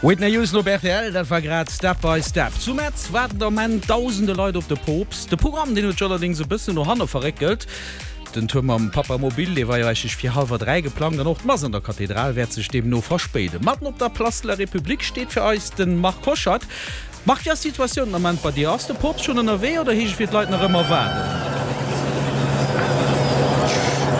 Whitney Houston op rtl, dat war grad Step by Step. Zu Metz waarden de Ament dausende Leit op de Poopst. De Programm, deen huet sech allerdéngs e bëssen no hanne verréckelt. Den Tour mam Papamobil, dee war jo eigentlech fir hallwer 3 geplangt an och d'Mass an der Kathedral wäert sech deemno verspéiden. Matten op der Place de la République steet fir eis de Marc Hoscheid. Marc, wéi ass d'Situatioun den Ament bei dir? Ass de Poopst schonn ënnerwee oder heescht et fir d'Leit nach ëmmer waarden?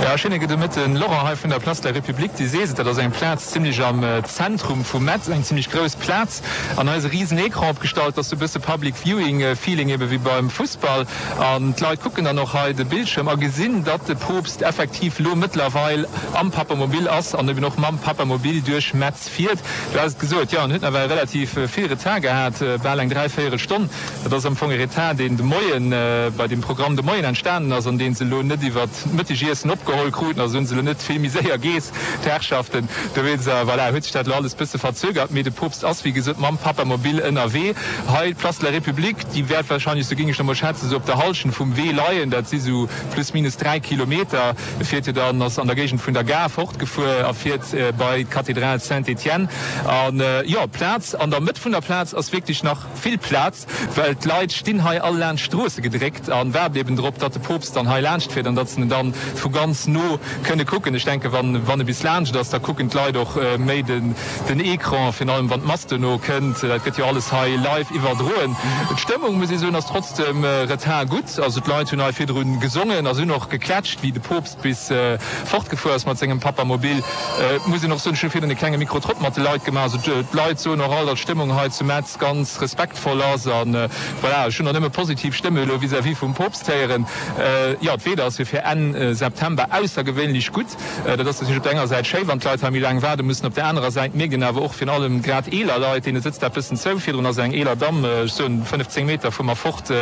Jo, schéine gudde Mëtten, Laurent, hei vun der Place de la République. Du sees et, dat ass eng Plaz zimlech am Zentrum vu Metz, eng zimlech grouss Plaz. An hei ass e risen Ecran opgestallt, dat ass sou e bësse Public Viewing Feeling, ebe wéi beim Fussball. An d'Leit kucken dann och hei de Bildschirm a gesinn, datt de Poopst effektiv lo mëttlerweil am Papamobil ass an eben och mam Papamobil duerch Metz fiert. Du has et gesot, jo, en huet nawell relativ vill Retard gehat, bal eng dräivéierel Stonn. Dat ass am Fong e Retard, deen de Moien bei deem Programm de Moien entstanen ass an dee se elo net iwwert d'Mëttegiessen opgeholl kruten. Also hu se elo net vill méi séier geess, d'Herrschaften. Dowéinst, voilà, huet sech dat elo alles bësse verzögert. Mee de Poopst ass, wéi gesot, mam Papamobil ënnerwee. Hei d'Place de la République, déi wäert wahrscheinlech, sou géing ech elo mol schätzen, sou op der Hallschent vum Wee leien. Dat si sou plus minus 3 Kilometer. E fiert jo dann, ass an der Géigend vun der Gare fortgefuer a fiert bei d'Kathedral Saint-Étienne. An jo, d'Plaz, an der Mëtt vun der Plaz ass wierklech nach vill Plaz, well d'Leit stinn hei all laanscht d'Stroosse gedréckt a waarden eben drop, datt de Poopst dann hei laanscht fiert an datt se en dann vu ganz no kënne kucken. Ech denken, wann wann e bis laanscht ass, da kucken d'Leit och méi den den Ecran, virun allem wann d'Mass duerno kënnt. Dat gëtt jo alles hei live iwwerdroen. D'Stëmmung, muss ee soen, ass trotz dem Retard gutt. Also d'Leit hunn hei virdrun gesongen a se hunn och geklätscht, wéi de Poopst bis fortgefuer ass mat sengem Papamobil. Et muss een och soen, ech hu virdrun e klenge Mikro-Trott mat de Leit gemaach. Also d'Leit soen och all, datt d'Stëmmung hei zu Metz ganz respektvoll ass. A voilà, ech hunn och nëmme positiv Stëmme elo vis-à-vis vum Poopst héieren. Jo, d'Weeder ass jo fir Enn September aussergewéinlech gutt. Dat ass natierlech op der enger Säit schéi, wann d'Leit hei méi laang waarde mussen. Op der anerer Säit mierkt een awer och, virun allem grad eeler Leit, deene sëtzt dat bëssen zou. Virdrun ass eng eeler Damm, ech soen 15 Meter vu mer fort,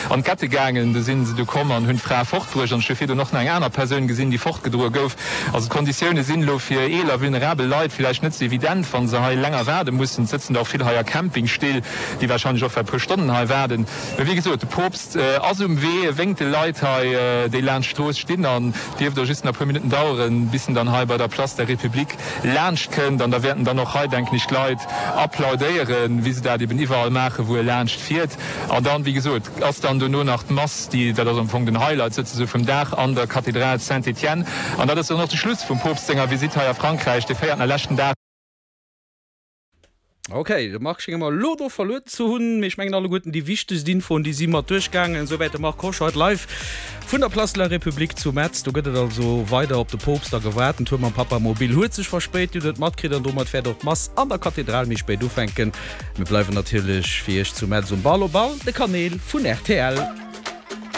an d'Kette gaangen. Du si se du komm an hunn d'Fra fortbruecht. An ech hu virdrun och nach eng aner Persoun gesinn, déi fortgedroe gouf. Also d'Konditioune sinn elo fir eeler, vulnerabel Leit villäicht net sou evident, wa se hei länger waarde mussen. Et sëtzen der och vill hei a Campingstill, déi warscheinlech och well e puer Stonnen hei waarden. Mee wéi gesot, de Poopst ass um Wee, e wénkt de Leit hei, déi laanscht d'Strooss stinn an dierft och just nach e puer Minutten daueren, bis en dann hei bei der Place der République laanscht kënnt. An da wäerten dann och hei, denken ech, d'Leit applaudéieren, wéi se dat eben iwwerall maachen, wou e laanscht fiert. An dann, wéi gesot, ass dann dono nach d'Mass, déi, dat ass am Fong den Highlight souzesoe vum Dag, an der Kathedral Saint-Étienne. An dat ass dann och de Schluss vum Poopst senger Visitt hei a Frankräich, de véierten a leschten Dag. Ok, de Marc schénge mer elo do verluer ze hunn, mee ech mengen alleguerten déi wichtegst Infoen déi si mat duerchgaangen. Esouwäit de Marc Hoscheid live vun der Place de la République zu Metz. Do gëtt et also weider op de Poopst a gewaart. Den Tour mam Papamobil huet sech verspéit, Dir hutt et matkritt an domat wäert och d'Mass an der Kathedral méi spéit ufänken. Mir bleiwen natierlech fir Iech zu Metz um Ball op all de Kanäl vun rtl.